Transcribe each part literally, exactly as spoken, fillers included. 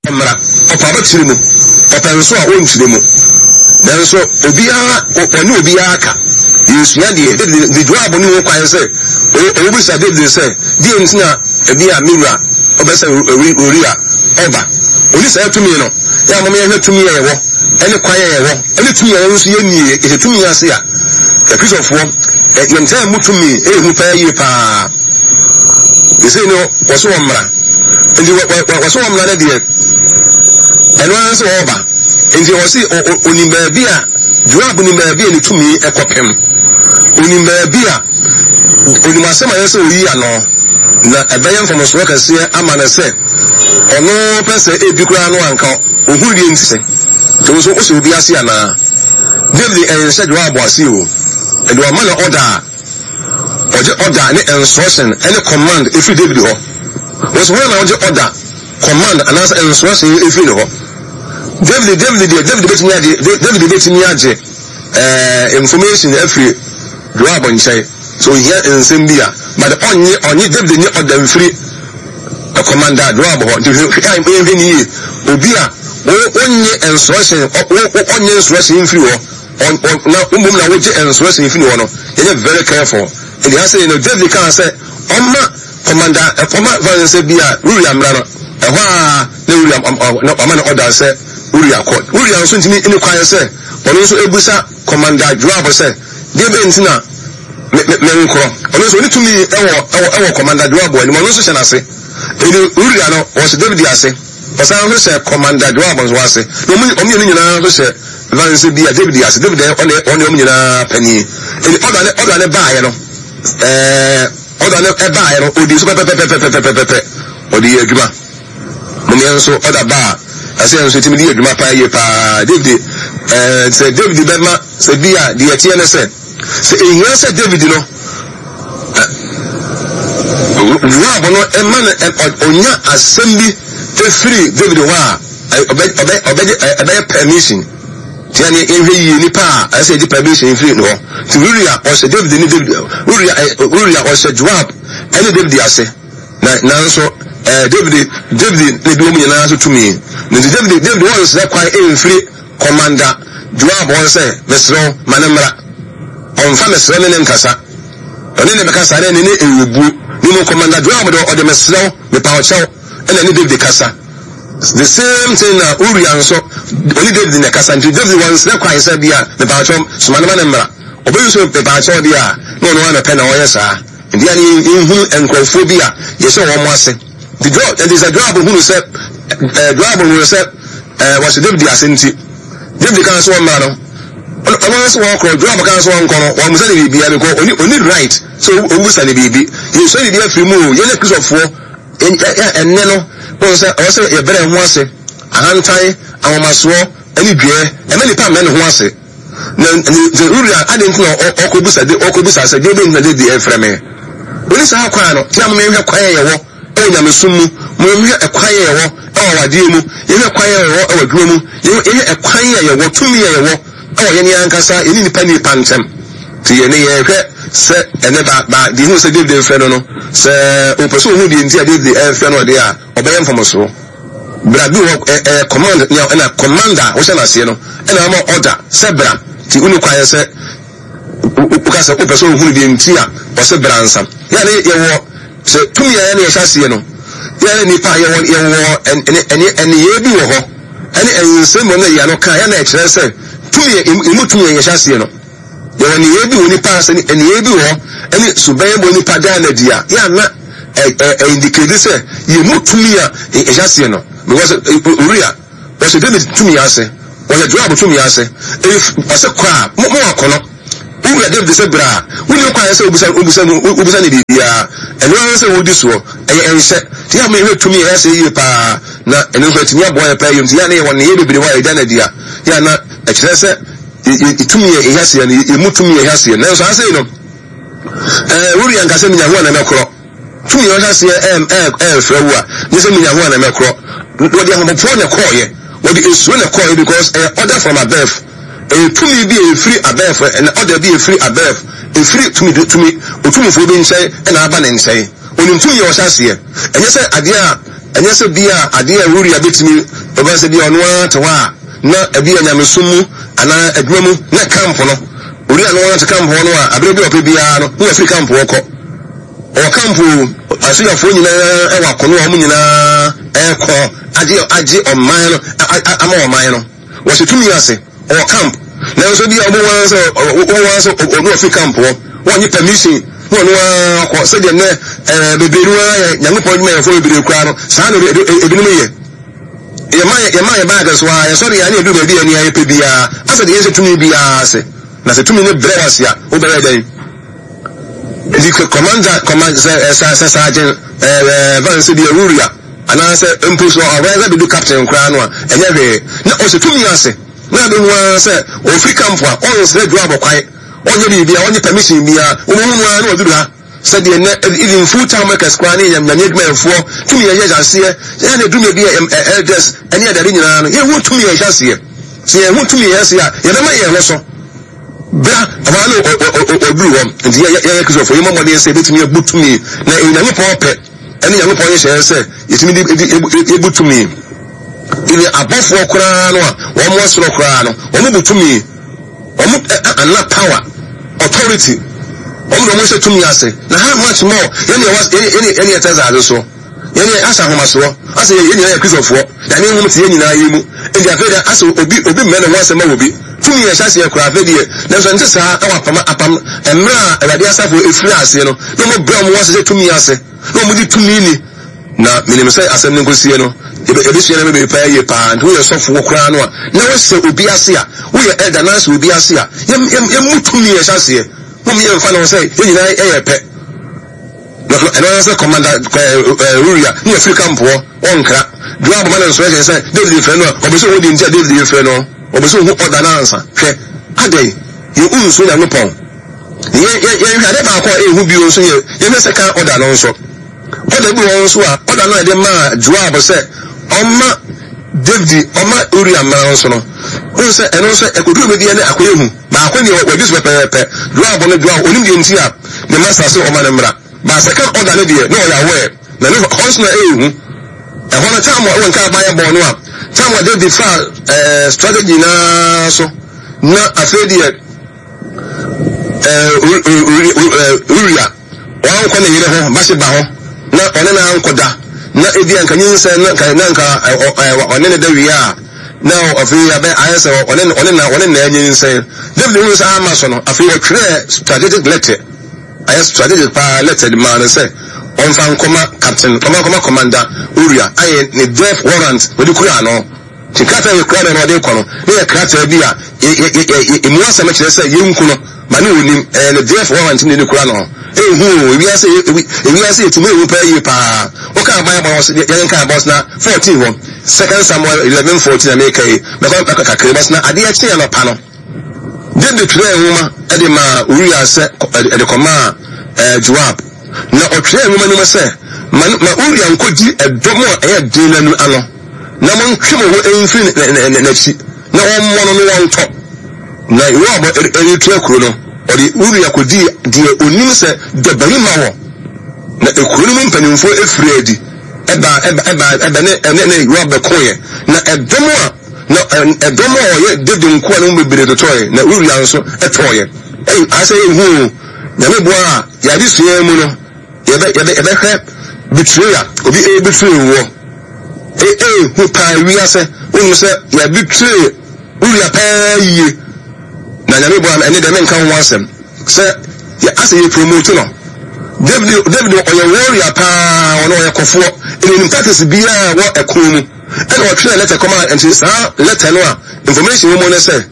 Mmra, ɔpɛ a ɔbɛkyerɛ mu, ɔpɛ nso a ɔnkyerɛ mu. Nanso obiara, ɔne obiara ka. Yɛresua deɛ David de Joab ne ho kwan sɛ ɔbisa David sɛ, deɛ nti na ebi a me wura ɔbɛ sɛ Uria ɔba. Ɔni saa tumi no. Yɛ a moma yɛhwɛ tumi a yɛwɔ, ɛne kwan a yɛwɔ, ɛne tumi a yɛn nso yɛnnie. Yɛhyɛ tumi ase a, Akristofoɔ, yɛntaa mu tumi ɛyɛ hu paa yie paa. Ɛsei no, wɔso wɔ mmara. Nti wɔso wɔ mmara no deɛ, ɛno ara sɛ wɔreba. Nti wɔse onim baabi a, Joab nim baabi a ne tumi ɛkɔpem. Onim baabi a, onim asɛm a yɛ sɛ oyi ano, na ɛbɛyɛ mfomsoɔ kɛseɛ ama no sɛ, ɔno pɛ sɛ ebi koraa no anka ohuru deɛ nti sɛ, nti wo nso wosɛ obi ase anaa? David ɛnhyɛ Joab ase o. Ɛde ɔma no order a, ɔgye order ne instruction ɛne command efiri David hɔ. Wɔsɛ hɔ na ɔgye order, command anaasɛ instruction efiri ne hɔ. David David deɛ, David betumi agye David betumi agye ɛɛ information efiri Joab nkyɛn. So ohia nsɛm bi a, but ɔnye ɔnye David nye order mfiri commander Joab hɔ. Nti hwɛ hwɛ hwɛ ne yie, obi a wonye instruction, ɔnye instruction mfiri hɔ na mmom na wogye instruction mfiri hɔ no, yɛnyɛ very careful. Nti ha sɛ no, David kaa sɛ ɔma commander ɔma fan sɛ bi a Uria mmra no, ɛhɔ a na Uria ɔma no order sɛ Uria kɔ. Uria nso ntumi ne kwan sɛ ɔno nso ebusa Commander Joab sɛ deɛ bɛn nti na me me nkorɔ. Ɔno nso ɔne tumi ɛwɔ ɛwɔ ɛwɔ Commander Joab anim, ɔno nso hyɛ n'ase. Ɛdi Uria no, ɔhyɛ David ase, ɔsan nso hyɛ Commander Joab nso ase, na ɔmo ɔmo mmienu nyinaa nso hyɛ vanse bi a David ase. David ɔne ɔne ɔmo nyinaa panyin. Ɛdi ɔda ne ɔda ne baayɛ no, ɛɛ ɔda ne ɛbaayɛ no, odi so pɛpɛpɛpɛpɛpɛpɛ, ɔde yɛ adwuma. Mo yɛn nso ɔda ba a, ɛsɛ yɛn nso tumi de yɛ adwuma paa yie paa. David ɛɛ sɛ David bɛma sɛ bi a deɛ ɛteɛ ne sɛ sɛ ehia sɛ David no, Joab no ɛma no ɔnya asɛm bi efiri David hɔ a, ɔbɛ ɔbɛ ɔbɛgye ɛbɛyɛ permission. Tia ne yɛhwɛ yie nipa a ɛsɛ yɛgye permission firi ne hɔ. Ti Uria ɔhyɛ David ne David, Uria ɛ Uria ɔhyɛ Joab ɛne David ase, na nanso ɛɛ David David ne bi wɔn nyinaa so tumi. Nti David David wɔn nsrɛ kwan ɛnfiri Commander Joab wɔn sɛ mesrɛ ma ne mmra. Ɔnfa mesrɛ ne ne nkasa, ɔne ne bɛkasa ne ne ne ewubuo ne mu. Commander Joab de, ɔde mesrɛ mepa ɔkyɛw ɛna ne David kasa. The same thing na Uria nso ɔne David na kasa. Nti David wɔn nsrɛ kwan sɛ bi a mepa ɔkyɛw soma ne ma ne mmra. Ɔbɛyi so mepa ɔkyɛw deɛ a, na ɔno ara na pɛ na ɔyɛ saa. Nti yanni nhunu nkurɔfoɔ bi a yɛhyɛ wɔn ase. Nti Joab, nti sɛ Joab hunu sɛ ɛɛ Joab hunu sɛ ɛɛ wɔhyɛ David ase, nti David kan so wɔn mmra no, ɔno nso wɔn korɔ. Joab kan so wɔn nkɔ no, wɔn musa ne biribi because oni oni right so owusa ne biribi. Yɛsua biribi afiri mu o. Yɛn ne Kristofoɔ ɛnɛ no, wɔn sɛ ɔwɔ sɛ yɛbrɛ ho ase. Ahantan, ahomasoɔ ɛne dua ɛmɛ nipa mmɛ ne ho ase. Na ne Uria adi nti na ɔkɔbusa de ɔkɔbusa sɛ deɛ bɛn na David ɛfrɛ me? Oni saa kwan no. Tia mo, mehwɛ kwan a yɛwɔ ɛwɔ nyamesom mu, mo mehwɛ ɛkwan a yɛwɔ ɛwɔ awadeɛ mu, yɛhwɛ kwan a yɛwɔ ɛwɔ adwuma mu, yɛhwɛ ɛkwan a yɛwɔ, tumi a yɛwɔ ɛwɔ yɛn ankasa yɛne nipa nipa ntɛm. Nti yɛne yɛhwɛ sɛ ɛnɛ ba ba deɛ hu sɛ David mfrɛ no no sɛ ɔpɛ sɛ ɔhu deɛ nti a David ɛmfrɛ no ɔdeɛ a, ɔbɛyɛ mfomsoɔ. Bra bi wɔ ɛ ɛ command nea ɛna commander a wohyɛ n'aseɛ no ɛna ama order sɛ bra. Nti wone kwan sɛ woka sɛ wopɛ sɛ ohunu deɛ nti a ɔsɛ bra nsa. Yɛne yɛwɔ sɛ tumi a yɛne yɛhyɛ aseɛ no, yɛne nipa yɛwɔ yɛwɔ ɛne ɛne ɛneyɛ bi wɔ hɔ ɛne nsɛm wɔ no yɛ no ka yɛn ɛkyerɛ sɛ tumi emu tumi a yɛhyɛ aseɛ no, yɛwɔ nneyɛɛ bi wɔ nipa ase, nneyɛɛ bi wɔ hɔ ɛne suban bɔ nipa daa na di a yɛ ana ɛ ɛ indicate sɛ yɛ mu tumi a yɛhyɛ aseɛ no, because Uria wɔhyɛ David tumi ase, wɔhyɛ Joab tumi ase. If ɔsɛ kɔ a, mo mo akɔ no, wowura David sɛ bra a, wonni kwan sɛ wobisa wobisa no wobisa ne biribiara. Ɛno ara sɛ wodi soɔ, ɛyɛ ɛnhyɛ. Nti yɛ a mehwɛ tumi a ɛyɛ sɛ yie paa, na ɛno nso atumi aboa yɛ paa yie. Nti yɛ a ne yɛwɔ nneyɛɛ bebree hɔ a yɛda no adi a, yɛ a na ɛkyerɛ sɛ yɛ tumi yɛ ɛhyɛ aseɛ no, yɛ mu tumi yɛ ɛhyɛ aseɛ. Nanso ase no, ɛɛ Uria nkasa minya ho a na mɛkorɔ. Tumi yɛ ɔhyɛ aseɛ ɛɛ ɛɛ ɛɛfrɛ wo a, nye sɛ minya ho a na mɛkorɔ. Wɔde ahopopoɔ na ɛkɔɔyɛ, wɔde esuro na ɛkɔɔyɛ, because ɛyɛ order from above. Ɛyɛ tumi bi a efiri above, ɛna order bi a efiri above, efiri tumi tumi otumfoɔ bi nkyɛn ɛna aba ne nkyɛn. Onim tumi yɛ ɔhyɛ aseɛ. Ɛnyɛ sɛ adeɛ a Ɛnyɛ sɛ bi a adeɛ a Uria bɛtumi ɔbɛn sɛ bi a ɔno ara te hɔ a na ebi a nyamesom mu anaa adwuma mu na camp no, Uria no ara te camp hɔ no a, abere bi a ɔpɛ biara no na wafiri camp hɔ kɔ. Ɔwɔ camp o, asogyafoɔ nyinaa ɛwɔ akono a wɔn nyinaa ɛrekɔ agye agye ɔman no ama ɔman no. Wɔhyɛ tumi ase, ɔwɔ camp. Nanso bi a wɔn wɔn sɛ wɔn wɔn sɛ ɔno afiri camp hɔ, wɔnnye permission na ɔno ara kɔ. Sɛdeɛ nnɛ ɛɛ bebree no ara yɛ Nyankopɔn adwumayɛfoɔ bebree koraa no, saa na ebinom yɛ. Yɛma yɛma yɛ baage so a, yɛsɔre yɛ ne yɛduru baabi a nea yɛpɛ biara, asɛ deɛ yɛnhyɛ tumi biara ase. Na sɛ tumi no brɛ wɔ ase a, wobɛyɛ dɛn? Nti commander command sɛ ɛsɛ sɛ sergeant ɛɛ ɛɛ van sɛ bi Uria anaasɛ mpo so ɔwɛ sɛ bɛdu captain koraa no a, ɛnyɛ hwee na ɔhyɛ tumi ase. Na abɛhu ara sɛ ɔfiri camp a, ɔnsrɛ Joab kwan, ɔnyɛ biribiara, ɔnyɛ permission biara, wɔbɛhu no ara na ɔduru ha. Sɛdeɛ nnɛ even full time workers koraa ne nyame adwumayɛfoɔ tumi yɛhyɛ aseɛ yɛn na dumi bi a elders ɛne adade nyinaa no, yɛn ho tumi yɛhyɛ aseɛ. Sɛ yɛn ho tumi yɛhyɛ aseɛ a, yɛbɛma yɛn ho so bra ɔbaa no ɔduru hɔ. Nti yɛ yɛ Kristofoɔ, yɛmmɔ mmɔden sɛ yɛbɛtumi abu tumi, na Onyankopɔn pɛ ɛne Nyankopɔn yɛhyɛ sɛ yɛtumi de yɛbu tumi. Even abɔfoɔ koraa no a wɔn wɔ soro koraa no, wɔn bu tumi, wɔn ana power, authority, wɔn de wɔn hyɛ tumi ase. Na how much more yɛn yɛ yɛn yɛn yɛ tɛ zaade so, yɛn yɛ asa ahomasoɔ asɛ yɛn nyinaa yɛ Kristofoɔ, yɛn nhom te yɛn nyinaa yɛ mu. Nti afei de asɛ obi obi mmɛ ne ho asɛm ma obi tumi yɛ hyɛ aseɛ koraa. Afei deɛ nanso nte saa. Ɛwɔ apam apam mmerɛ a Awurade asafo efiri aseɛ no, na wɔn brɛ wɔn ase hyɛ tumi ase na wɔn di tumi ni. Na menim sɛ asɛm no nkosie no, yɛbɛsua no bebree paa yie paa. Nti woyɛ sɔfoɔ koraa no a, na wohyɛ obi ase a, woyɛ elder na ahyɛ obi ase a, yɛmmu tumi yɛ hyɛ aseɛ. Mom yɛmfa no sɛ yɛn nyinaa yɛ pɛ. Ɛno ara sɛ commander Uria ne yɛfiri camp hɔ, ɔnkra Joab ma no nso ɛkyɛ sɛ David frɛ no a, ɔbɛ sɛ ɔhu deɛ nti a David frɛ no, ɔbɛ sɛ ɔhu ɔda no ansa. Hwɛ adɛn yɛn nsuo Nyankopɔn. Yɛhwɛ ade baako a ɛhu bio nso, yɛ yɛhwɛ second order no nso. Order bi wɔ nso a, order no a yɛde maa Joab sɛ ɔma David, ɔma Uria mmara nso no, wohu sɛ ɛno nso ɛkɔduru baabi a ne akɔyɛ hu. Baako deɛ wɔadi so pɛpɛɛpɛ. Joab no, Joab onim deɛ nti a ne master sɛ ɔma no mmara ba. Second order no deɛ, na ɔyɛ aware na ne hɔ nso na ɛyɛ hu. Ɛhɔ no time a ɛwɔ nka abayɛ bɔɔ no a, time a David fa ɛɛ strategy nyinaa so, na afei deɛ ɛɛ Uria wankɔ ne yere ho Bathsheba hɔ na ɔne na ankɔda, na ebi anka nyinsɛn na nka na nka ɔne ne da wie a, na afei abɛ ayɛ sɛ ɔne ɔne na ɔne na anyinsɛn. David hu sɛ ama so no, afei ɔtwerɛ strategic letter, ayɛ strategic paa letter de maa no sɛ ɔmfa nkɔma captain, ɔmfa nkɔma commander Uria, ayɛ ne death warrant wɔde kura ano. Nti krataa yɛ kura no na ɔde kɔ no, ne yɛ krataa bi a emu asɛm kyerɛ sɛ yɛnku no ma ne onim. Ɛyɛ ne death warrant ne ne kura no. Ehu o, ewiase ewiase yɛtumi ehu paa yie paa. Woka Bible no, yɛn ka Bible na fourteen hɔ, Second Samuel eleven fourteen na meka yi, mɛkɔ mɛkɔ kakra bɔs. Na adeɛ kye anɔpa no, David twerɛ nwoma ɛde maa Uria sɛ ɛde kɔmaa ɛɛ Joab. Na ɔtwerɛ nwoma no mu sɛ, ma ma Uria nkɔdi ɛdɔm a ɛyɛ den n'anu ano, na montwe mo ho mfiri n'akyi na wɔmmɔ no no wɔntɔ. Na Yoab ɛretua kuro no, ɔde Uria kɔdii deɛ onim sɛ dɔbarima wɔ. Na ekuro no mu mpanimfoɔ efiri adi ɛba ɛba ɛba ɛbɛ ne ɛne ne Yoab bɛkoeɛ. Na ɛdɔm a na ɛdɔm a ɔyɛ David nkoa no mu bebree totɔeɛ, na Uria nso ɛtɔeɛ. Ɛyi asɛ ehu o. Nyame boa a, yɛade sua mu no, yɛbɛ yɛbɛ yɛbɛhwɛ betrayal, obi ebetray wɔ ehu paa wiase. Wonim sɛ yɛbetray Uria paa yie. Na Nyame boa no, ɛne deɛ menka ho asɛm sɛ yɛ asɛ yɛ promote no. David David ɔyɛ warrior paa, ɔno ɔyɛ kɔfoɔ, ɛna onim tactics biara wɔ ɛko mu. Ɛna ɔtwerɛ letter kɔma. Nti saa letter no a information wɔ mu no sɛ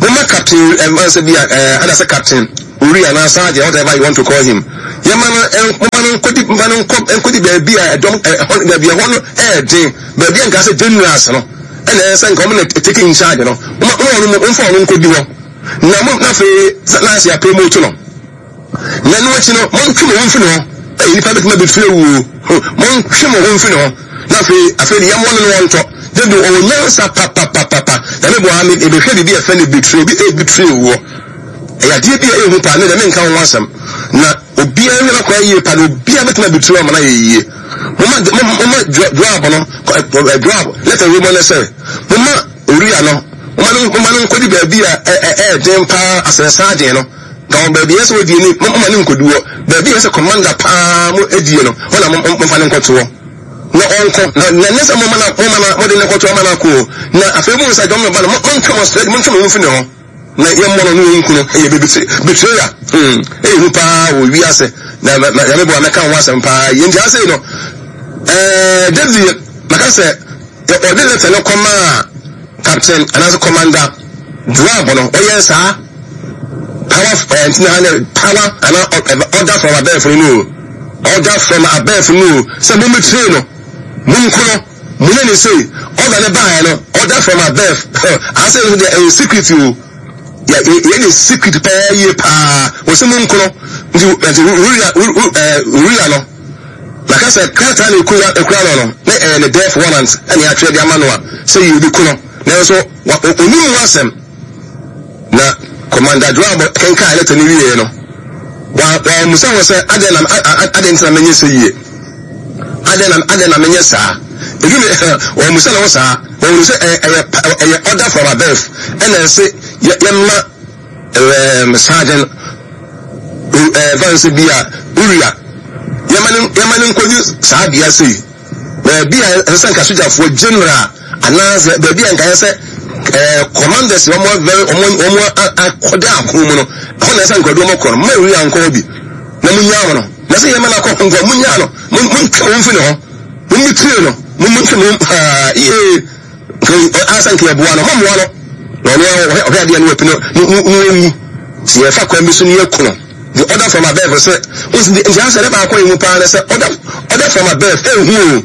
moma captain ɛma sɛ bi a ɛɛ ɛna sɛ Captain Uria anaa sergeant, whatever you want to call him, yɛma no moma no nkɔdi, moma no nkɔ nkɔdi baabi a ɛdɔm ɛhɔ, baabi ɛhɔ no ɛɛden, baabi a nka sɛ generals no ɛna ɛyɛ sɛ nka wɔn na take in charge no. Moma moma ɔno mfa ɔno nkɔdi hɔ na mo na afei na ase apromote no. Na ɛno akyi no, montwe mo ho mfiri ne ho. Ɛyɛ nipa bɛtumi abɛfiri awuo. Montwe mo ho mfiri ne ho na afei afei de yɛmmɔ no no wɔntɔ. David ɔwɔ nyansa papapapapa. Na me boa me ebɛhwɛ biribi a ɛfɛ no betray, obi ebetray woɔ. Ɛyɛ adeɛ bi a ɛyɛ hu paa. Ne deɛ menka ho asɛm na obiara nhwɛ n'akwan yie paa, na obiara bɛtumi abetray ama no ayɛ yie. Moma moma Joab no, Joab letter wei mu ne sɛ, moma Uria no, moma no moma no nkɔdi baabi a ɛyɛ den paa asɛn sergeant no. Ka wɔn baabi a ɛsɛ wɔdie ni, moma no nkɔdi hɔ. Baabi a ɛsɛ commander paa mo adie no, hɔ na momfa no nkɔto hɔ. Na ɔnkɔ, na na nyɛ sɛ moma na moma na mode no kɔto ama no akɔ o. Na afei mo nsa dɔm no ba no, montwe mo srɛ, montwe mo ho mfiri ne ho. Na yɛmmɔ no na wɔnku no. Ɛyɛ betrayal. Hmm, ɛyɛ hu paa wɔ wiase. Na na Nyame boa mɛka ho asɛm paa. Yɛn nti asei no, ɛɛ David maka sɛ ɔde lɛtɛ no kɔmaa captain anaasɛ commander Joab no, ɔyɛ saa power ɛɛ nti na ha ne power anaa order from above no no order from above no sɛ mo betray no, monku no. Monyɛ ne sei, order no baeɛ no, order from above, asɛ nso deɛ ɛyɛ secret o, yɛ yɛ ne secret paa yie paa, wɔsɛ mo nkono, nti nti Uria Uria no, maka sɛ krataa na ekura ekura no no, na ɛyɛ ne death warrant ɛna yɛatwerɛ de ama no a, sɛ yɛ obi ko no, nanso onim ho asɛm. Na Commander Joab kenkan lɛtɛ no wieɛ no, wammisa ho sɛ, adɛn na adɛn nti na menyɛ sɛ yie? Adɛn na adɛn na menyɛ saa? Edu ne wammisa ne ho saa. Wɔhunu sɛ ɛyɛ ɛyɛ order from above ɛna ɛsɛ yɛ yɛma ɛɛm sergeant ɛɛ vanse bi a Uria yɛma ne yɛma ne nkɔdi saa bea sei. Baabi a ɛsɛ sɛ nka sogyafoɔ general anaasɛ baabi a nka ɛsɛ sɛ ɛɛ commanders wɔn very wɔn wɔn akɔda ako mu no, ɛhɔ na ɛsɛ nka ɔde wɔn kɔ no. Mma Uria nkɔ hɔ bi na munyaa no. Na sɛ yɛma no akɔ hɔ nko a, munyaa no, montwe wɔn mfi ne ho, mommitire no, montwe mo haa yie. Nka ansa nka yɛboa no, mommoa no. Na ɔno ara ɔhwɛ adeɛ no wapi no no no ɔnwu. Sɛ yɛfa kwan bi so no yɛku no. The order from above sɛ, nti asɛ ne baako yɛ mu paa ne sɛ order order from above ehu o,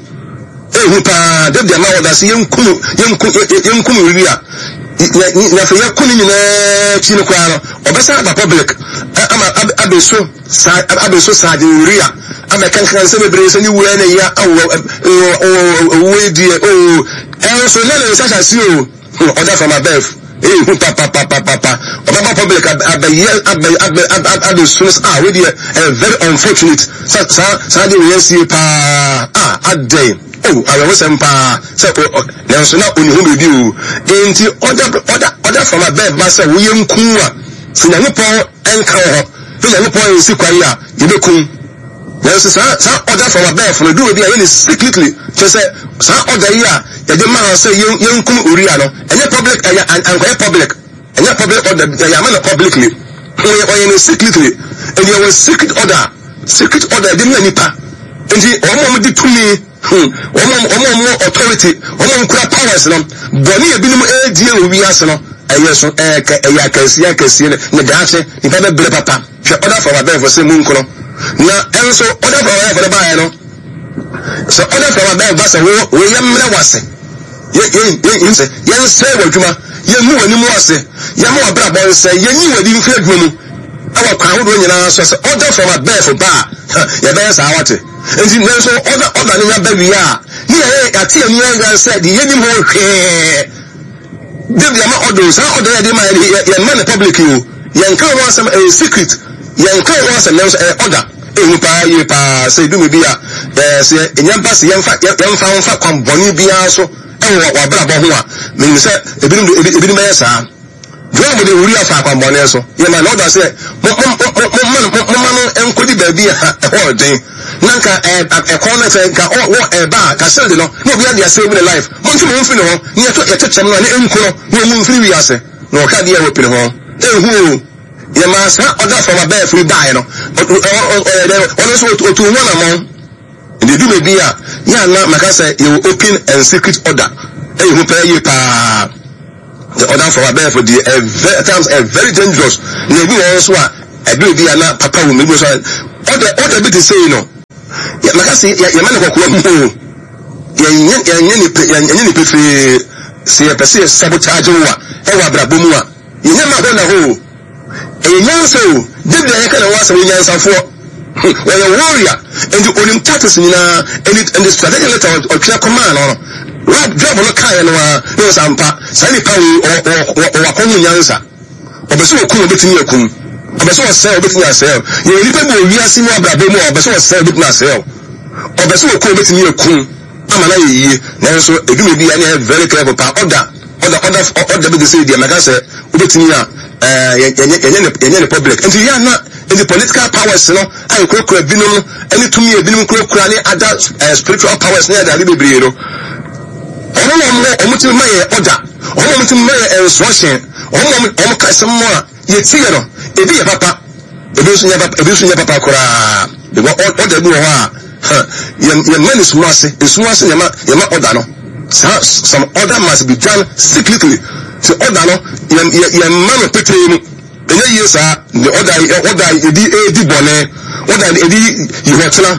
ehu paa. David ama order sɛ yɛnku no, yɛnku yɛnku no wie a, na afei yɛko ne nyinaa akyi no koraa no, ɔbɛsan aba public ama abɛso saa abɛso Sergeant Uria abɛkankan nsɛm bebree sɛ ne wura ne ya awɔ owuo yi deɛ oo, ɛnso na ne nsa hyɛ ase o. Order from above ehu papapapapa, ɔbɛba public abɛyɛ abɛ abɛ abɛsu no sɛ ah wei deɛ ɛyɛ very unfortunate sɛ saa saa deɛ wei asie paa ah adɛn oh awerɛhosɛm paa sɛ o nanso na ɔni ho biribi o. Enti order order order from above ba sɛ woyɛ nku a, sɛ Nyankopɔn ɛnka wɔ hɔ sɛ Nyankopɔn nsi kwan a yɛbɛkum. Nanso saa saa order from above no duru bi a yɛ ne secretly, kyerɛ sɛ saa order yi a yɛde maa sɛ yɛn yɛnkum Uria no, ɛnyɛ public, ɛyɛ ankɔyɛ public, ɛnyɛ public order, yɛyɛ ama no publicly, ɔyɛ ɔyɛ no secretly. Ɛdi ɛwɔ secret order, secret order yɛde ma nipa. Nti wɔn a wɔde tumi, hmm, wɔn a wɔn a wɔn authority, wɔn a wɔkura powers no, bɔne ebinom ɛredie wɔ wiase no, ɛyɛ so ɛyɛ ɛyɛ akɛseɛ akɛseɛ ne daakye nipa bɛbrɛ papa. Hwɛ order from above sɛ mu nkono. Na ɛnso order from above no baeɛ no, sɛ order from above ba sɛ wo wo yɛ mmerɛ wase, yɛ yɛ yɛ sɛ yɛnsɛe w'adwuma, yɛngu w'anim ase, yɛma w'abrabɔ nsɛe, yɛnyi w'adi mfiri adwuma mu ɛwɔ kwan ahodoɔ nyinaa so, sɛ order from above ba a, yɛbɛyɛ saa wate. Nti nanso order order no nya ba wie a, ne yɛyɛ yɛate ani yɛn sɛ deɛ yɛnim ho hwee. David ama order, saa order yɛde ma yɛ yɛn ma no public o, yɛn ka ho asɛm, ɛyɛ secret, yɛn ka ho asɛm, nanso ɛyɛ order. Ehu paa yie paa sɛ edu bi a ɛɛ sɛ enya ba sɛ yɛnfa yɛnfa nfa kwan bɔnne biara so ɛwɔ w'abrabɔ ho a, menim sɛ ebinom de ebinom bɛyɛ saa. Joab de Uria fa kwan bɔnne so, yɛ ma na order sɛ mo mo mo mo mo mo ma no nkɔdi baabi a ɛhɔ ɔden, na nka ɛɛ ɛkɔn no sɛ nka ɔ wɔ ɛɛba a ka shield no na obi ade asɛe mu ne life, mo ntwe mo ho mfiri ne ho ne yɛto yɛto kyɛm no a ne nku no na ɔmu mfiri wiase. Na ɔhwɛ adeɛ a wɔpene ho ehu o. Yɛ maa saa order from above yi baeɛ no, ɔyɛ dɛ ɔno nso otu ho anammɔn. Nti edu baabi a yɛ ana maka sɛ yɛwɔ open and secret order, ɛyɛ hu pɛɛ yie paa. The order from above deɛ ɛ very at times ɛ very dangerous. Na ebi wɔ hɔ nso a ɛdu ebi a na papa wɔ mu, ebi nso a order order bi te sei no, yɛ maka sɛ yɛ yɛma no kɔkɔɔ mu o, yɛnyɛ yɛnyɛ ne pe yɛnyɛ ne pefee. Sɛ yɛpɛ sɛ yɛ sabotage wo a ɛwɔ abrabɔ mu a, yɛnyɛ ma hɔ na hɔ o. Ɛyɛ nyansa o. David a yɛka ne ho asɛm, ɔyɛ nyansafoɔ, ɔyɛ warrior, nti onim tactics nyinaa. Ɛnti ɛnti strategic letter ɔtwerɛ kɔmaa no no, Joab Joab no kaeɛ no ara na ɔsɛ ampa saa nipa wei ɔwɔ ɔwɔ ɔwɔ akɔho nyansa. Ɔpɛ sɛ ɔkum, ɔbɛtumi akum. Ɔpɛ sɛ ɔsɛe, ɔbɛtumi asɛe. Yɛwɔ nipa bi wɔ wiase mu abrabɔ mu a ɔpɛ sɛ ɔsɛe, ɔbɛtumi asɛe. Ɔbɛ sɛ wɔkɔ obɛtumi akum ama no ayɛ yie, nanso edwuma bi a ne yɛ very careful paa. Ɔda ɔda ɔda ɔda bi de sɛ deɛ mɛka sɛ wobɛtumi a ɛɛ yɛnyɛ yɛnyɛ ne yɛnyɛ ne public. Nti yɛ ana nti political powers no a yɛkurakura binom no ɛne tumi a ebinom kurakura ne other ɛɛ spiritual powers ne ade bebree no, ɔmo na ɔmo ɔmo tumi ma yɛ ɔda, ɔmo ɔmo tumi ma yɛ instruction, ɔmo ɔmo ɔmo ka asɛm mu a yɛti yɛ no, ebi yɛ papa, ebi nso nyɛ papa, ebi nso nyɛ papa koraa, because ɔda bi wɔ hɔ a yɛn yɛn mma ne sum ase, esum ase yɛn ma yɛn ma ɔda no saa. Some order must be done secretly. Ti ɔda no yɛn yɛn yɛn mma no petee mu ɛnyɛ yie saa. Ne ɔda ɔda yɛdi edi bɔnɛ, ɔda yɛdi yihɔtena,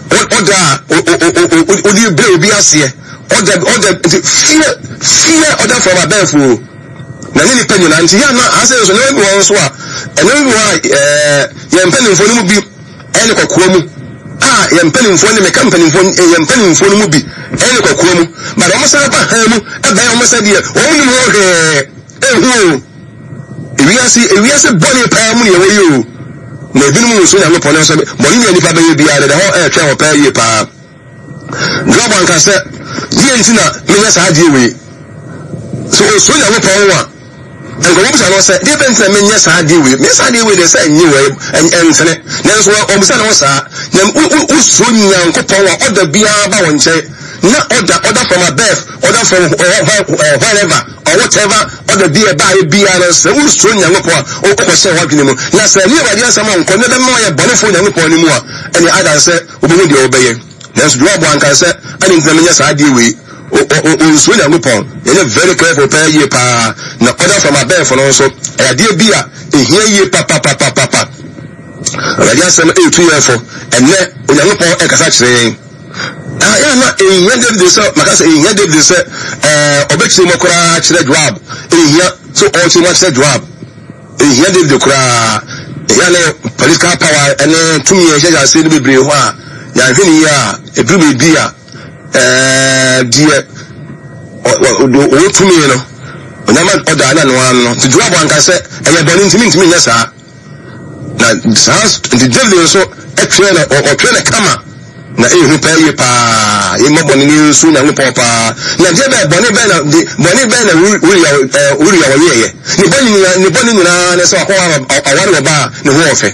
ɔda a ɔdi bere obi aseɛ, ɔda ɔda nti fear fear order from above o, na ne nipa nyinaa. Nti yɛn ana asɛ nso nneɛma bi wɔ nso a nneɛma bi wɔ a ɛɛ yɛn mpanimfoɔ no mu bi ɛne kɔkɔɔ mu a yɛn mpanimfoɔ ne meka mpanimfoɔ, yɛn mpanimfoɔ no mu bi ɛne kɔkɔɔ mu, but wɔn san ba han mu ɛbɛn wɔn sɛ deɛ wɔn nim ho hwɛɛ ehu o. Ewiase ewiase bɔne paa mu ne yɛwɔ yi o, na ebinom nso Nyankopɔn nso bɔne ne nipa bɛyɛ biara deda hɔ ɛretwɛn wɔ paa yie paa. Job anka sɛ deɛ nti na menyɛ saa adeɛ wei so. Osuro Nyankopɔn ho a, nkɔmɔ bisa no sɛ deɛ bɛn nti na menyɛ saa adeɛ wei, menyɛ saa adeɛ wei deɛ sɛ ɛnyɛ wɔ ɛntene, nanso ɔbusa ne ho saa. Na wosuro Nyankopɔn a, ɔda biara ba wɔn nkyɛn na ɔda order from above, order from wherever or whatever, ɔda bi a ɛbaayɛ biara no, sɛ wosuro Nyankopɔn a, wokɔhyɛ w'adwene mu na sɛ ne Awurade asɛm a nkɔ ne bɛma ɔyɛ bɔnefoɔ Nyankopɔn no mu a, ɛne ada sɛ wobɛhu deɛ wobɛyɛ. Nanso Joab anka sɛ ɛne ntina menyɛ saa adeɛ wei, ɔnsuo Nyankopɔn. Yɛnyɛ very careful paa yie paa. Na order from above no nso ɛyɛ adeɛ bi a ɛhia yie papapapapa. Awurade asɛm ɛretu yɛn fo ɛnɛ. Onyankopɔn ɛkasa kyerɛ yɛn. Yɛ na ɛhia David sɛ maka sɛ ɛhia David sɛ ɔbɛkyerɛ mu koraa kyerɛ Joab. Ɛhia sɛ ɔkyerɛ mu akyerɛ Joab, ɛhia David koraa. Ɛhia ne political power ɛne tumi a ɛhyɛ ase no bebree hɔ a yɛahwɛ ne yie a, ɛduru baabi a ɛɛ deɛ ɔwɔ tumi no onyama ɔda na noa no. Nti Joab anka sɛ ɛyɛ bɔne ntumi ntumi nyɛ saa. Na saa nti David nso ɛtwerɛ no, ɔtwerɛ no kama na ehu paa yie paa. Yɛmmɔ bɔne ne nsu Nyankopɔn paa. Na deɛ bɛɛ bɔne bɛɛ na de bɔne bɛɛ na Uria ɛɛ Uria wɔyɛɛyɛ ne bɔne nyinaa, ne bɔne nyinaa ne sɛ wakɔ aware wɔ baa ne ho ɔfɛ.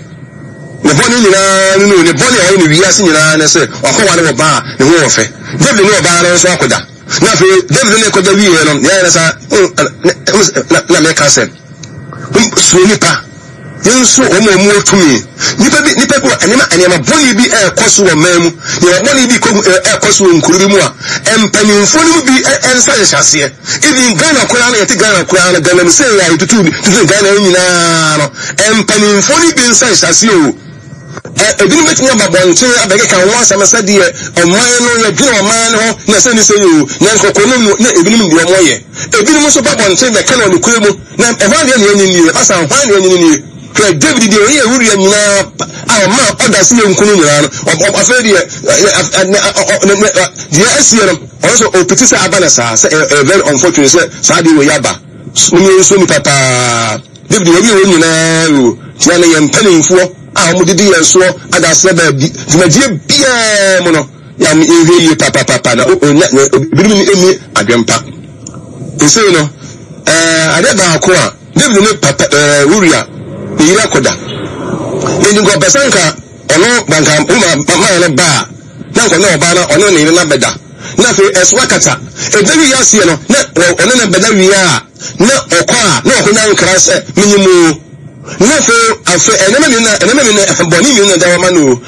Ne bɔne nyinaa no no ne bɔne a ɔyɛ ne wiase nyinaa ne sɛ wakɔ ware wɔ baa ne ho ɔfɛ. David ne ɔbaa no nso akɔda, na afei David ne kɔda wieɛ no, yɛayɛ no saa na na meka sɛ suro nipa, yɛnso wɔn a wɔwɔ tumi. Nipa bi nipa bi wɔ nneɛma nneɛma bɔne bi ɛrekɔ so wɔ man mu, nneɛma bɔne bi kɔ ɛrekɔ so wɔ nkuro bi mu a, mpanimfoɔ no mu bi nsa hyehyɛ aseɛ. Even Ghana koraa no, yɛte Ghana koraa no, Ghana sɛ yɛ a yɛtutu tutu Ghana nyinaa no, mpanimfoɔ no bi nsa hyehyɛ aseɛ o. Ebinom bɛtumi aba bɔnten abɛkeka ho asɛm sɛdeɛ ɔman no yɛdwene ɔman no ho na ɛsɛ ne sɛ yɛ o, na nkɔkɔ no mu na ebinom deɛ ɔmo yɛ. Ebinom nso ba bɔnten bɛka no ɔnokorɛ mu na ɛhɔ adeɛ ne ɛnyɛ nie ɛba saa hwan ne ɛnyɛ nie. Hwɛ David deɛ ɔyɛ Uria nyinaa a ɔma ɔda se yɛ nkunu nyinaa no, afei deɛ deɛ asie no, ɔno nso ɔpiti sɛ aba no saa sɛ ɛyɛ very unfortunate sɛ saa deɛ wɔ yɛ aba. Mo nso nipa paa David wɔn wɔn nyinaa o tia ne yɛn mpanimfoɔ a wɔn didi yɛn soɔ adaseɛ baabi dwumadie biara mu no, yɛn yɛhwɛ yie papapapa na onya ebinom ni adwempa nsɛn no. ɛɛ adeɛ baako a David ne papa ɛɛ Uria ne yere akɔda nti nka ɔpɛ sɛ nka ɔno banka woma maa no baa na nka ɔne ɔbaa no ɔne ne yere no abɛda, na afei ɛso akata ɛda wie aseɛ no, na ɔne no bɛda wie a, na ɔkɔ a na ɔkɔnya nkra sɛ menyim o. Na afei afei ɛnɛma mmienu na ɛnɛma mmienu na bɔne mmienu na ɛda wɔma no o.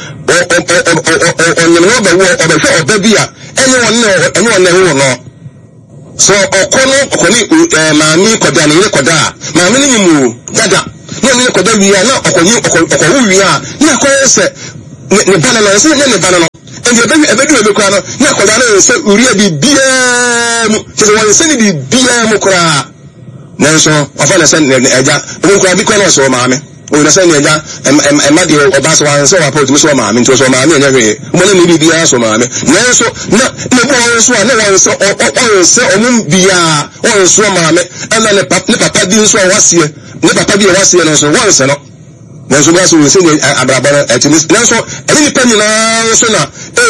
Ɔnyem no ɔbɛwo, ɔbɛhwɛ ɔba bi a ɛnyɛ wɔn na ɛnyɛ wɔn na ɛwɔ no so. Ɔkɔ no ɔkɔ ne ɛɛ maame kɔda, ne yere kɔda a maame no nyim o dada, na ɔne ne kɔda wie a, na ɔkɔnye ɔkɔ ɔkɔwo wie a, na akɔyɛ sɛ ne ne ba no no ɔsɛ ne ne ba no no nti ɛbɛwi ɛbɛdu ebi koraa no, na akɔda no nsɛ Uria biribiara mu kyerɛ sɛ wɔn nsɛ ne biribiara mu koraa, nanso ɔfa ne sɛ ne ne agya ɔmo koraa bi koraa na ɔsɛ ɔmaame ɔyɛ sɛ ne agya. Ɛma deɛ ɔba sɛ wansɛ ɔapa ɔtumi sɛ ɔmaame nti ɔsɛ ɔmaame ɛnyɛ hwee, ɔmo ne ne biribiara sɛ ɔmaame, nanso na ne bu wɔn nso a na wɔn nsɛ ɔnsɛ ɔmo biara ɔnso ɔmaame, ɛna ne papa ne papa bi nso a waseɛ ne papa bi a waseɛ no nso wɔnsɛ no, nanso bi asɛ wɔn sɛ ne abrabɔ no ɛte ne, nanso ɛne nipa nyinaa nso na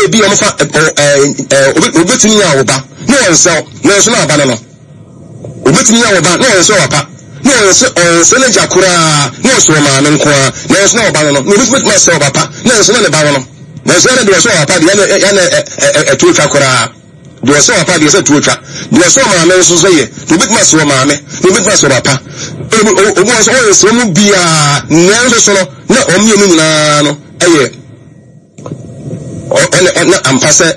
Ebi ɔmo fa ɛ ɛ obi obetumi yɛ ɔba ne wɔn nsɛw, nanso na ɔba no no obetumi yɛ ɔba ne wɔn nsɛw papa ne wɔn nsɛ ɔnsɛ n'agya koraa ne ɔsɛ ɔmaame nko ara, nanso na ɔba no no na obi betumi asɛ ɔba pa, nanso na ne ba no no nanso na deɛ ɔsɛ ɔba pa deɛ ɛna ɛna ɛ ɛtuo twa koraa. Deɛ ɔsɛ ɔba pa deɛ ɛsɛ tuo twa. Deɛ ɔsɛ ɔmaame nso so yɛ deɛ obetumi asɛ ɔmaame na obetumi asɛ ɔba pa. Obi obi wɔn nso ɔyɛ sɛ ɔmo biara, nanso so no na wɔn mmienu nyinaa no ɛyɛ ɔne ɔna ampa sɛ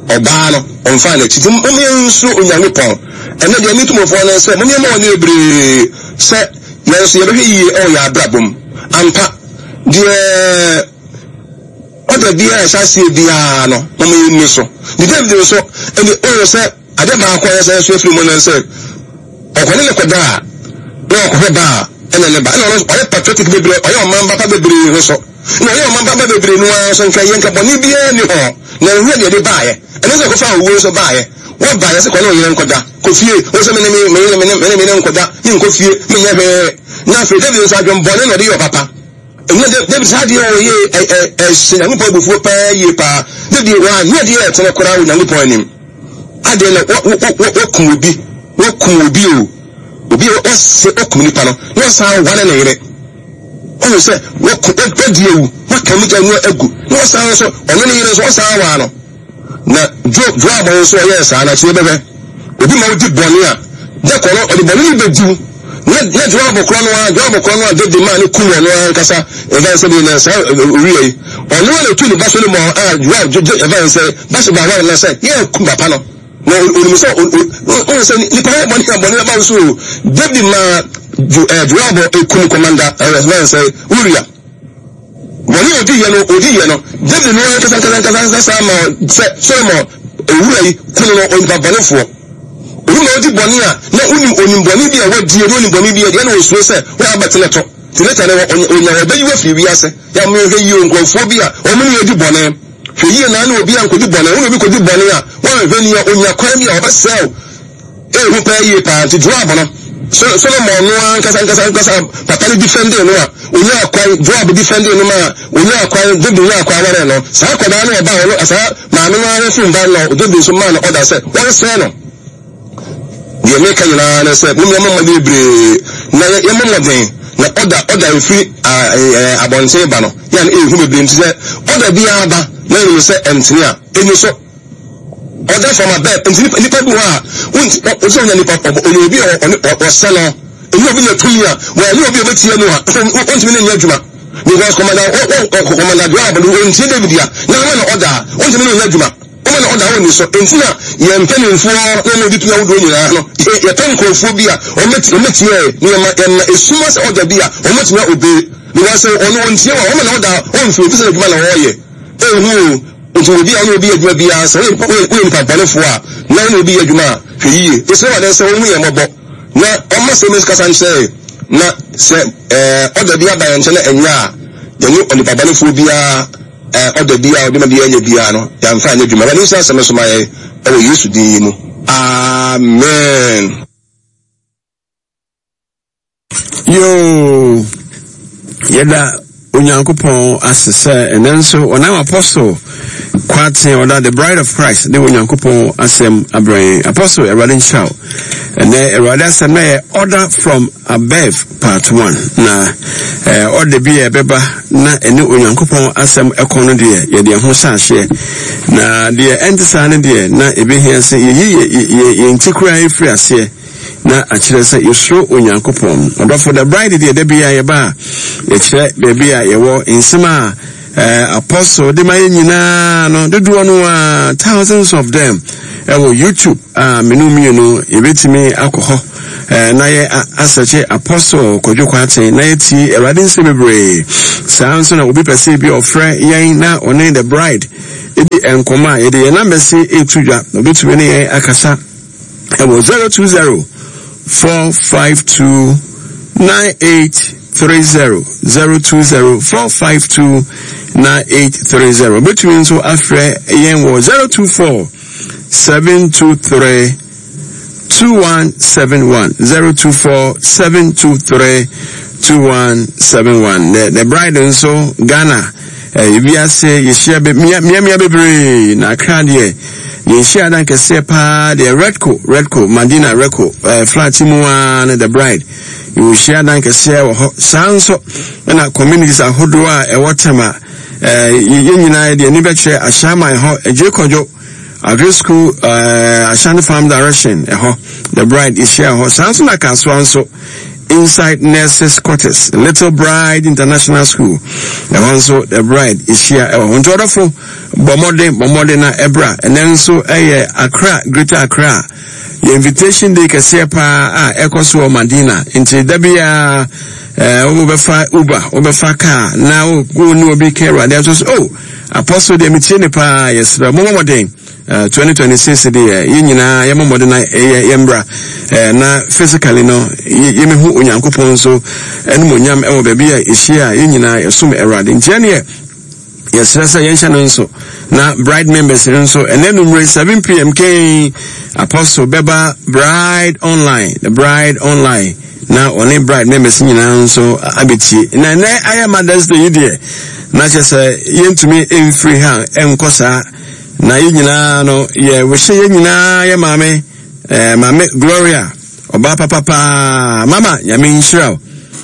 ɔbaa no ɔmfa n'akyi. Nti mo yɛn nso Onyankopɔn ɛnɛ deɛ ne tumfoɔ no sɛ mo yɛn ma wɔn bebree sɛ yɛn nso yɛbɛhwɛ yie ɛwɔ yɛn abrabɔ mu ampa. Deɛ ɔda biara ɛhyɛ aseɛ biara no mo yɛn ni so ne David nso ɛne ɔyɛ sɛ adeɛ baako a yɛsɛ nso afiri mu no sɛ ɔkɔne ne kɔda a na ɔkɔhwɛ ba a ɛna ne ba ɛna ɔno ɔyɛ patriotic bebree, ɔyɛ ɔman ba pa bebree ho so na ɔyɛ ɔman ba pa bebree no ara nso nka yɛ nka bɔne biara ni hɔ na nhwɛ deɛ de baayɛ ɛno sɛ kɔfa owuo nso baayɛ wɔba yɛ sɛ kɔne ɔyere nkɔda kɔ fie wo sɛ mene me mene mene mene mene nkɔda me nkɔ fie menyɛ hwee. Na afei David nso adwen bɔne na ɔde yɛ ɔpapa. Ɛnyɛ David saa deɛ ɔyɛ ɛhyɛ Nyankopɔn abufuo paa yie paa. David wanyɛ deɛ ɛtene koraa wɔ Nyankopɔn anim. Adeɛ na wɔkum obi wɔkum obi o obi wɔsɛ wɔkum nipa no na wɔsan wane ne yere. Ɔhu sɛ wɔdi ewu wɔka mu gya no agu na wɔsan nso ɔne ne yere nso wɔsan waa no. Na Joab nso ɔyɛɛ saa na kyerɛ bɛhwɛ obi ma wodi bɔne a dɛkɔ no ɔde bɔne no bɛdiw na na Joab korɔ no a Joab korɔ no a David maa ne kum ɔno ankasa ɛfɛn sɛ bi na saa owia yi ɔno a na etu ne ba Solomon a Joab ɛfɛn sɛ Bathsheba aware na sɛ yɛ kum papa no na onim sɛ ɔn sɛ nipa yɛ bɔne a bɔne bɛba nso David maa Joab ekum kɔmanda ɛfɛn sɛ Uria. Bɔne a odi yɛ no odi yɛ no David no ankasa ankasa ankasa ankasa saa ma sɛ Solomon owura yi kunu no onipa bɔnefoɔ. Obi ma odi bɔne a na onim onim bɔne bi a wadie na onim bɔne bi a deɛ na osuro sɛ wɔn abɛtena to te later no onya ɔbɛyi wɔ firi wiase. Yɛ mo hwɛ yie nkurɔfoɔ bi a wɔn ne yɛ di bɔne hwɛ yie na ne obi a nkɔdi bɔne wɔn obi kɔdi bɔne a wɔn hwɛ ni a onya kwan bi a ɔbɛsɛw ehu pɛɛ yie paa. Nti Joab no Solomon no ankasa ankasa ankasa papa no defending no a onya kwan Joab defending no ma onya kwan David nya kwan ware no saa akwadaa no ɔba ɔno saa maame no ara firi mba no David nso maa no ɔda sɛ wɔnsɛɛ no. Deɛ meka nyinaa ne sɛ mo mmea mo mmɔden bebree na yɛmmɔ mmɔden na ɔda ɔda efiri abɔnten ba no yɛn ehu bebree nti sɛ ɔda biara ba na yɛn sɛ ɛntene a enyi so ɔda fam abɛ nti nipa bi hɔ a wonti ɔsɛ onya nipa ɔnyɛ obi a ɔne ɔsɛ no ɛnyɛ obi na tumi a wɔnyɛ obi a ɔbɛtie no a ɔntumi ne nyɛ adwuma because kɔmanda kɔmanda Joab no ɔntie David a na ama na ɔda a ɔntumi ne nyɛ adwuma ɔma na ɔda a ɔnni so. Nti na yɛn mpanimfoɔ na wɔn di tumi ahodoɔ nyinaa no yɛpɛ nkurɔfoɔ bi a wɔmɛtie ne yɛma yɛma esuma sɛ ɔda bi a wɔmɛtumi obe because ɔno ɔntie wɔ ɔma na ɔda ɔmfiri ofi sɛ adwuma na ɔreyɛ ehu o. Nti obi a ɔne obi yɛ adwuma biara sɛ woyɛ nipa bɔnefoɔ a na ɔne obi yɛ adwuma a hwɛ yie. Ɛsɛ wɔ sɛ wɔn ho yɛ mmɔbɔ na ɔma sɛ mesi kasa nkyerɛ na sɛ ɛɛ ɔda bi aba yɛn nkyɛn na ɛnyɛ a yɛne onipa bɔnefoɔ biara ɛɛ ɔda bi a ɔde ma biara nyɛ biara no yɛamfa anyɛ adwuma. Awurade nhyira asɛm so ma yɛn ɛwɔ Yesu din yi mu. Amen. Yo, yɛda Onyankopɔn ase sɛ ɛnɛ nso ɔnam Apostle Kwaten ɔda the Bride of Christ ne Onyankopɔn asɛm abrɛ yɛn. Apostle, Awurade nhyira wo. Ɛnɛ Awurade asɛm na yɛ order from above part one. Na eh, order bi a ɛbɛba na ɛne Onyankopɔn asɛm ɛkɔ no deɛ yɛde ɛho hyɛ aseɛ. Na deɛ ɛnte saa no deɛ na ɛbɛhia sɛ yɛyi yɛn ti koraa ɛfiri aseɛ na akyerɛ sɛ yɛsuro Onyankopɔn. Ɔdɔfo, the bride deɛ da bi a yɛba a yɛkyerɛ baabi a yɛwɔ nsɛm a eh, apostle de ma yɛ nyinaa no dodoɔ no a thousands of them ɛwɔ YouTube a menu mmienu yɛbɛtumi akɔ hɔ eh, na yɛ asɛkye Apostle Kwadwo Kwaten na yɛtie Awurade nsɛm bebree. Saa nso na obi pɛ sɛ bi ɔfrɛ yɛn na ɔne the bride ɛdi nkɔmmɔ a yɛde yɛn numbers ɛtu dwa na obɛtumi ne yɛn akasa ɛwɔ zero two zero four five two nine eight three zero zero two zero four five two nine eight three zero. Obetumi nso afrɛ yɛn wɔ zero two four seven two three two one seven one zero two four seven two three two one seven one. The, the bride nso Ghana Ewiase yɛhyia mmeammea bebree na Accra deɛ yɛnhyia dan kɛseɛ paa deɛ Redco Redco Madina Redco eh, flat mu ara ne The Bride yɛhyia dan kɛseɛ wɔ hɔ. Saa nso ɛna communities ahodoɔ a ɛwɔ Tema, eh, yɛn nyinaa deɛ ani bɛkyerɛ Ahyɛaman hɔ, Agye Kɔdwo Agri School, uh, Ashanti Farm direction ɛhɔ The Bride yɛhyia hɔ. Saa nso na Kasoa nso, inside nurses quarters, Little Bride International School, ɛhɔ nso The Bride yɛhyia ɛwɔ hɔ. Nti ɔdɔfo, bɔ mmɔden, bɔ mmɔden na ɛbra. Ɛnɛ nso ɛyɛ Accra, Greater Accra yɛ invitation day kɛseɛ paa a ɛkɔ so wɔ Madina. Nti da biara ɛɛ wobɛfa Uber, wobɛfa car na wo ne obi ka Awurade ato so, oh, Apostle deɛ metie ne paa. Yɛsrɛ mommɔ mmɔden. Uh, twenty twenty-six deɛ yɛn nyinaa yɛmmɔ mmɔden na yɛ yɛmbra uh, na physically no yɛmɛhu Onyankopɔn nso ɛnum onyam ɛwɔ baabi a yɛhyia a yɛn nyinaa yɛsom Awurade. Nti ɛneɛ yɛsrɛ sɛ yɛnhyɛ no nso na Bride members nso, ɛnɛ numere seven p m kɛn Apostle bɛba Bride Online, The Bride Online, na ɔne Bride members nyinaa nso abɛtie. Na ɛnɛ ayɛ Mothers Day yi deɛ, na kyerɛ sɛ yɛntumi mfiri ha nkɔ saa na yɛn nyinaa no yɛwɔhyɛ yɛn nyinaa yɛ maame, ɛɛ Maame Gloria, ɔbaa papapaa. Mama, Nyame nhyira wo,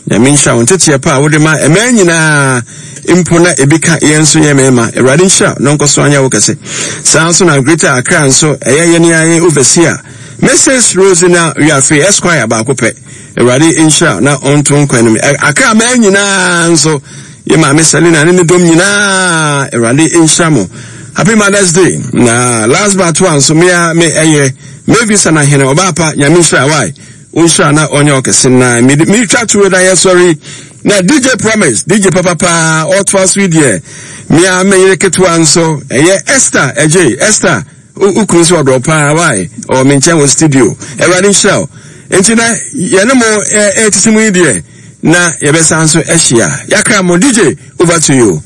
Nyame nhyira wo nteteɛ pa a wode ma ɛmɛn nyinaa mpo na ebi ka yɛn nso yɛ mmarima. Awurade nhyira na ɔnkɔ so anyɛ wo kɛse. Saa nso na Greater Accra nso ɛyɛ yɛn ayɛ overseer Missus Rosina Wiafe Esquire baako pɛ. Awurade nhyira na ɔnto nkwa anim. Accra mmaa nyinaa nso, yɛ maame Selina ne ne dɔm nyinaa, Awurade nhyira mo. Happy Mother's Day. Na last but one nso, mea me ɛyɛ Mavis Anahene, ɔbaa pa. Nyame nhyira wae, nhyira na ɔnyɛ ɔkɛse. Na metwa tuo na yɛsɔre na D J Promise, D J papapaa, ɔtoa so yi deɛ, mea meyere ketewa nso ɛyɛ Esther ɛgye. Esther, wokunu nso ɔdɔ paa wae, ɔwɔ me nkyɛn wɔ studio. Awurade nhyira wo. Nti na yɛne mo ɛtete mu yi deɛ, na yɛbɛsan so ahyia. Yɛakra mo. D J, over to you.